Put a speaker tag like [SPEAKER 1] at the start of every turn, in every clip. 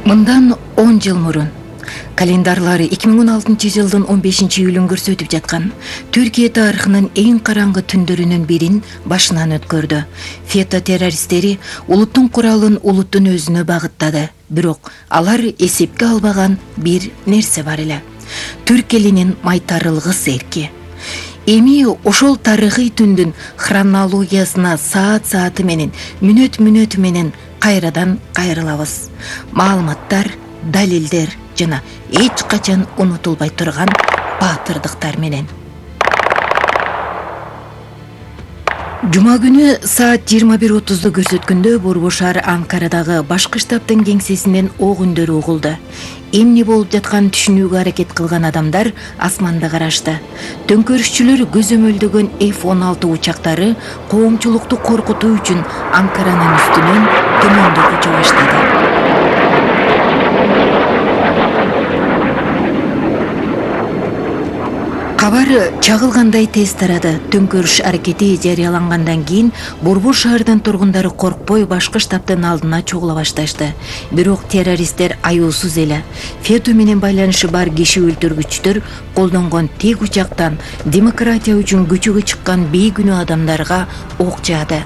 [SPEAKER 1] Мындан 10 жыл мурун календарлары 2016-жылдын 15-июлүн көрсөтүп жаткан Түркия тарыхынын эң караңгы түндөрүнүн бирин башынан өткөрдү. Фето террористтери улуттун куралын улуттун өзүнө багыттады. Бирок алар эсепке албаган бир нерсе бар эле. Түрк элинин майтарылгыс эрки. Эми ошол тарыхый түндүн хронологиясына саат менен, мүнөт менен кайрадан кайрылабыз. Маалыматтар, далилдер жана эч качан унутулбай турган баатырдыктар менен. Жума күнү саат 21:30 көрсөткөндө Борбор шаар Анкарадагы башкы штабтын кеңсесинен ок үндөрү угулду. Эмне болуп жатканын түшүнүүгө аракет кылган адамдар асманда карашты. Төңкөрүшчүлөр көзөмөлдөгөн F-16 учактары коомчулукту коркутуу үчүн Анкаранын үстүнөн төмөндө уча баштады. Кабар чагылгандай тез тарады. Төңкөрүш аракети жарыялангандан кийин Борбор шаарынын тургундары коркпой башкы штабтын алдына чогула башташты. Бирок террористтер аюусуз эле. Фето менен байланышы бар киши өлтүргүчтөр колдонгон тек учактан демократия үчүн көчөгө чыккан бейкүнөө адамдарга ок жаады.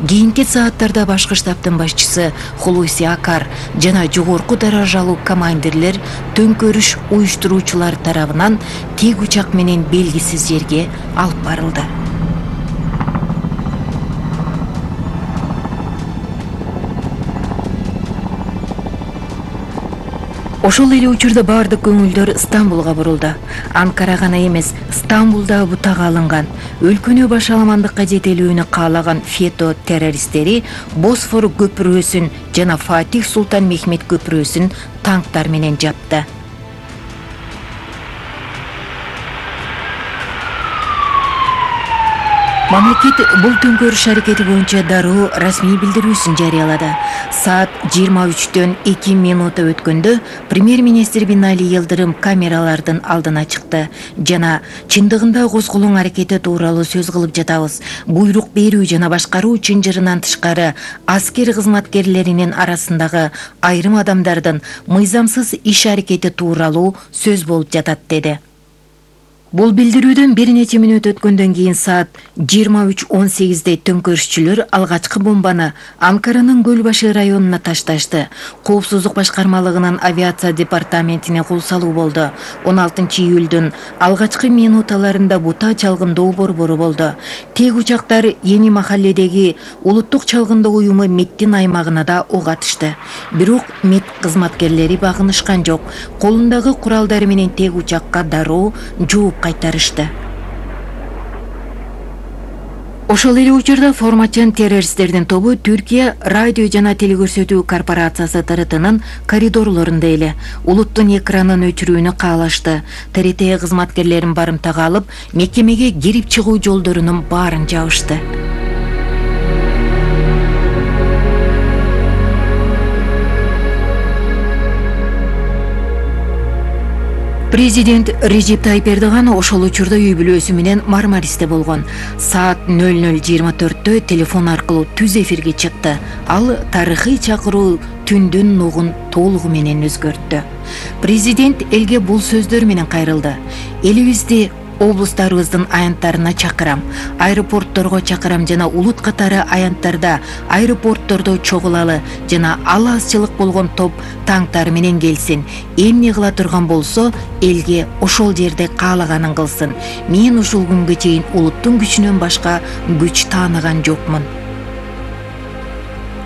[SPEAKER 1] Кийинки сааттарда башкы штабтын башчысы Хулуси Акар жана жогорку даражалуу командирлер төңкөрүш уюштуруучулар тарабынан тек учак менен белгисиз жерге алып барылды. Ошол эле учурда бардык көңүлдөр Стамбулга бурулду. Анкара гана эмес, Стамбулда бутага алынган. Өлкөнү башаламандыкка жетелүүнү каалаган Фето террористтери Босфор көпүрөсүн жана Фатих Султан Мехмет көпүрөсүн танктар менен жапты. Мамлекет бул төңкөрүш аракети боюнча дароо расмий билдирүүсүн жарыялады. Саат 23:02 өткөндө премьер-министр Бинали Йылдырым камералардын алдына чыкты жана чындыгында козголоң аракети тууралуу сөз кылып жатабыз. Буйрук берүү жана башкаруу чынжырынан тышкары аскер кызматкерлеринин арасындагы айрым адамдардын мыйзамсыз иш аракети тууралуу сөз болуп жатат деди. Бул билдирүүдөн бир нече мүнөт өткөндөн кийин саат 23:18 төңкөрүшчүлөр алгачкы бомбаны Анкаранын Көлбашы районуна ташташты. Коопсуздук башкармалыгынын авиация департаментине кол салуу болду. 16-июлдун алгачкы минуталарында бута чалгындоо борбору болду. Тек учактар Эни махалледеги улуттук чалгындоо уюму МЕТтин аймагына да ок атышты. Бирок МЕТ кызматкерлери багынышкан жок. Колундагы куралдары менен тек учакка дароо жооп кайтарышты. Ошол эле учурда форматчан террористтердин тобу Түркия радио жана телекөрсөтүү корпорациясы ТРТнын коридорлорунда эле улуттун экранын өчүрүүнү каалашты. ТРТ кызматкерлерин барымтага алып, мекемеге кирип чыгуу жолдорунун баарын жабышты. Президент Режеп Тайип Эрдоган ошол учурда үй бүлөсү менен Мармаристе болгон. Саат 00:24 телефон аркылуу түз эфирге чыкты. Ал тарыхый чакыруу түндүн нугун толугу менен өзгөрттү. Президент элге бул сөздөр менен кайрылды. Элибизди облустарыбыздын аянттарына чакырам, аэропортторго чакырам жана улут катары аянттарда, аэропорттордо чогулалы жана ал азчылык болгон топ танктар менен келсин. Эмне кыла турган болсо, элге ошол жерде каалаганын кылсын. Мен ушул күнгө чейин улуттун күчүнөн башка күч тааныган жокмун.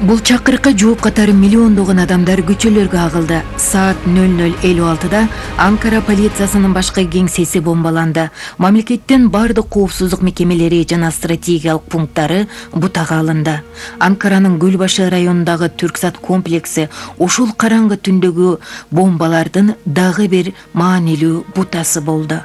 [SPEAKER 1] Бул чакырыкка жооп катары миллиондогон адамдар көчөлөргө агылды. Саат 00:56 Анкара полициясынын башкы кеңсеси бомбаланды. Мамлекеттин бардык коопсуздук мекемелери жана стратегиялык пункттары бутага алынды. Анкаранын Көлбашы районундагы Түрксат комплекси ушул караңгы түндөгү бомбалардын дагы бир маанилүү бутасы болду.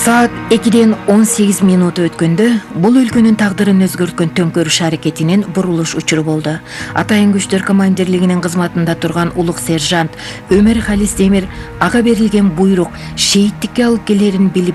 [SPEAKER 1] Саат 2:18 өткөндө бул өлкөнүн тагдырын өзгөрткөн төңкөрүш аракетинин бурулуш учуру болду. Атайын күчтөр командирлигинин кызматында турган улук сержант Өмөр Халис Демир ага берилген буйрук шейиттикке алып келерин билип